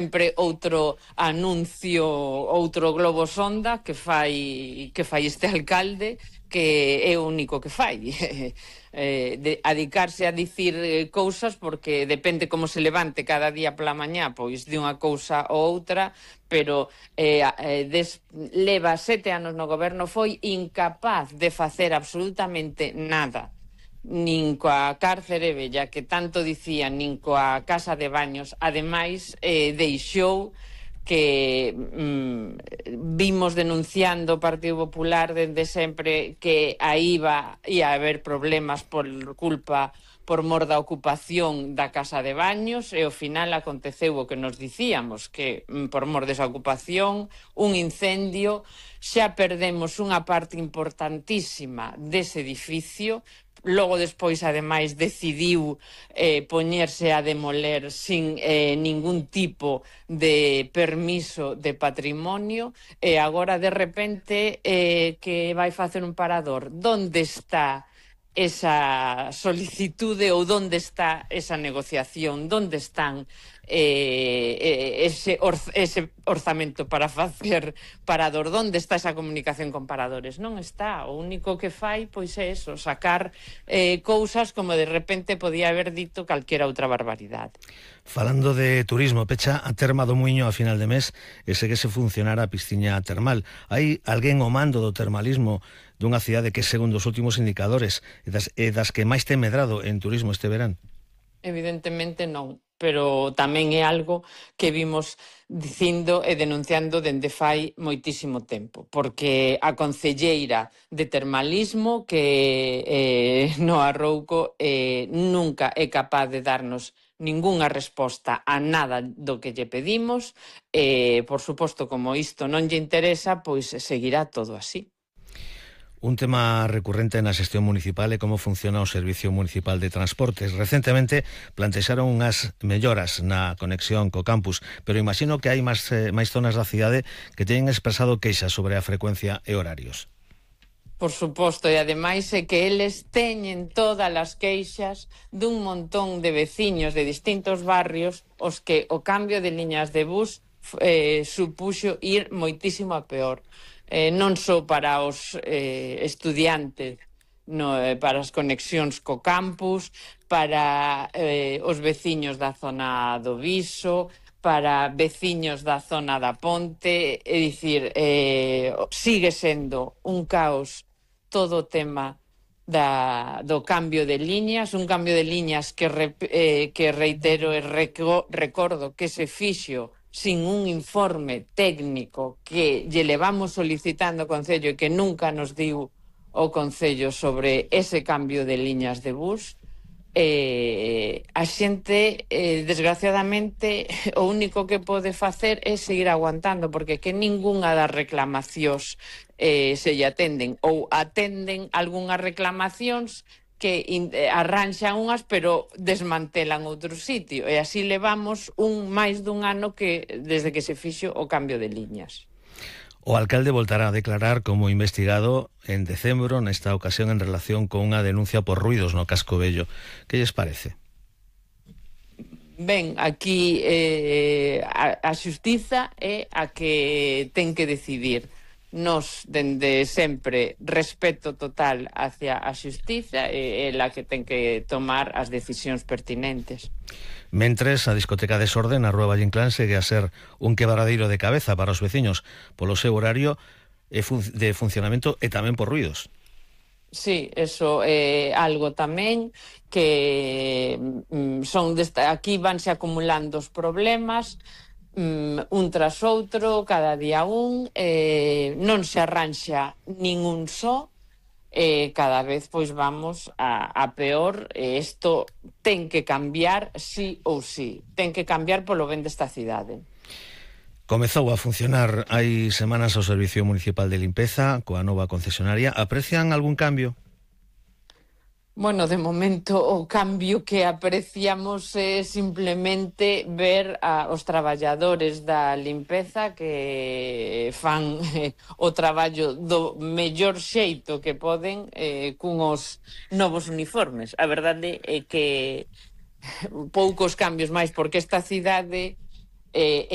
sempre outro anuncio, outro globo sonda que fai este alcalde, que é o único que fai. Adicarse a dicir cousas, porque depende como se levante cada día pola mañá, pois de unha cousa ou outra, pero leva 7 anos no goberno, foi incapaz de facer absolutamente nada, nin coa cárcere vella que tanto dicían, nin coa casa de baños. Ademais, deixou que vimos denunciando o Partido Popular dende sempre que aí ia haber problemas por mor da ocupación da casa de baños, e ao final aconteceu o que nos dicíamos, que por mor desa ocupación, un incendio, xa perdemos unha parte importantísima dese edificio. Logo, despois, ademais, decidiu poñerse a demoler sin ningún tipo de permiso de patrimonio, e agora, de repente, que vai facer un parador. Donde está esa solicitude, ou donde está esa negociación? Donde están ese orzamento para facer parador? Donde está esa comunicación con paradores? Non está. O único que fai, pois, é eso, sacar cousas como de repente podía haber dito calquera outra barbaridade. Falando de turismo, pecha a terma do Muiño a final de mes e segue se funcionar a pisciña termal. Hai alguén ao mando do termalismo dunha cidade que, segundo os últimos indicadores, é das que máis ten medrado en turismo este verán? Evidentemente non, pero tamén é algo que vimos dicindo e denunciando dende fai moitísimo tempo, porque a concelleira de termalismo, que no Arrouco, nunca é capaz de darnos ningunha resposta a nada do que lle pedimos, e, por suposto, como isto non lle interesa, pois seguirá todo así. Un tema recurrente na xestión municipal é como funciona o Servicio Municipal de Transportes. Recentemente plantexaron unhas melloras na conexión co campus, pero imagino que hai máis zonas da cidade que teñen expresado queixas sobre a frecuencia e horarios. Por suposto, e ademais é que eles teñen todas as queixas dun montón de veciños de distintos barrios os que o cambio de liñas de bus supuxo ir moitísimo a peor. Non só para os estudiantes, para as conexións co campus, para os veciños da zona do Viso, para veciños da zona da Ponte. É dicir, sigue sendo un caos todo o tema do cambio de liñas, un cambio de liñas que reitero e recordo que se fixo sin un informe técnico que lle levamos solicitando ao Concello e que nunca nos diu o Concello sobre ese cambio de liñas de bus. A xente, desgraciadamente, o único que pode facer é seguir aguantando, porque que ningunha das reclamacións se lle atenden, ou atenden algunhas reclamacións que arranxan unhas pero desmantelan outro sitio, e así levamos máis dun ano desde que se fixo o cambio de liñas. O alcalde voltará a declarar como investigado en decembro, nesta ocasión en relación con unha denuncia por ruidos no Casco Vello. Que lles parece? Ben, aquí a xustiza é a que ten que decidir. Nos, dende sempre, respeto total hacia a xustiza, e ela que ten que tomar as decisións pertinentes. Mentres, a discoteca Desorden na Rúa Valle Inclán segue a ser un quebradeiro de cabeza para os veciños polo seu horario de funcionamento e tamén por ruidos. Sí, eso é algo tamén que aquí vanse acumulando os problemas, un tras outro, cada día non se arranxa ningún só, cada vez pois vamos a peor, e isto ten que cambiar sí ou sí, ten que cambiar polo ben desta cidade. Comezou a funcionar hai semanas o Servicio Municipal de Limpeza coa nova concesionaria. Aprecian algún cambio? Bueno, de momento o cambio que apreciamos é simplemente ver os traballadores da limpeza que fan o traballo do mellor xeito que poden cunhos novos uniformes. A verdade é que poucos cambios máis, porque esta cidade é